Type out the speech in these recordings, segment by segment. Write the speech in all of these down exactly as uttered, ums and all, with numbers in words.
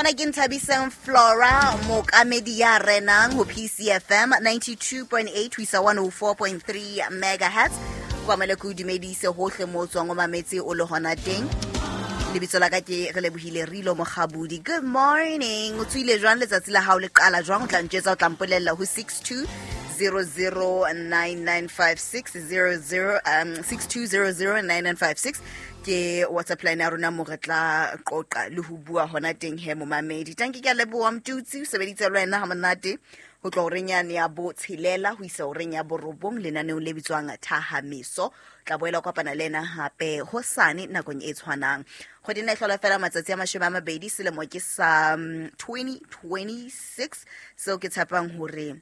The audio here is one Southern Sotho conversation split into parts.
Mona ke Nthabiseng Flora, mookamedi ya renang ho P C F M ninety-two point eight ho isa one oh four point three megahertz. Kwa mele ke o dumedise hohle mo o tswang o mametse o le hona teng. Lebitso la ka ke Relebohile Rilo Mokgabudi. Good morning. O tswile jwang letsatsi la hao le qala jwang? O tla ntjwetsa, o tla mpolella ho six two zero zero nine nine five six zero zero, um, six two zero zero nine nine five six ke WhatsApp line ya rona mo re tla qoqa le ho bua hona teng he momamedi. Tanki ke a leboha Mtutsi, o sebeditse le wena ha monate ho tloha horeng yane ya botshelela ho isa horeng ya borobong lenaneong le bitswang Thahameso. Tla boela kopana le ena hape hosane nakong e tshwanang. Kgwedi ena e hlola fela matsatsi a mashome a mabedi, selemo ke sa, um, twenty twenty-six, seo ke tshepang hore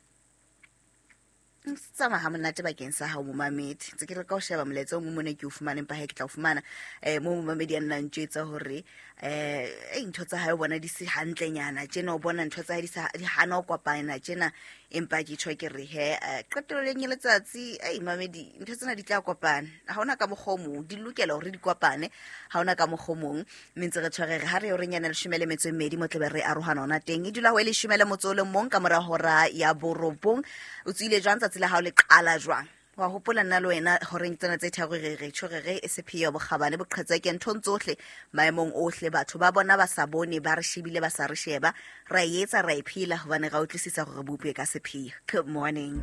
tsamaya ha monate bakeng sa hao momamedi. Ntse ke re ka o sheba molaetsa o mong mona ke o fumane, empa he ke tla o fumana. Eh, mo momamedi a nna ntjwetsa hore, eh, eh, ntho tsa hae o bona di se hantlenyana tjena, o bona ntho tsa hae di sa, di hana ho kopana tjena, empa ke tjho ke re he, eh, qetellong ya letsatsi, ei, mamedi, ntho tsena di tla kopana. Ha hona ka mokgwa o mong, di lokela hore di kopane, ha hona ka mokgwa o mong. Mme ntse re tshware re ha re horeng yana leshome le metso e mmedi, mo tlabe re arohana hona teng. E dula ho e leshome le motso o le mong ka mora hora ya borobong. O tswile jwang tsatsi la hao le qala jwang? Wa hopola nna le wena horeng tsena tse tharo re re tjho re re e sepheo bokgabane boqhetseke nthong tsohle maemong ohle, batho ba bona ba sa bone, ba re shebile ba sa re sheba, ra e etsa ra e phela hobane ra utlwisisa hore re bopilwe ka sepheo. Good morning.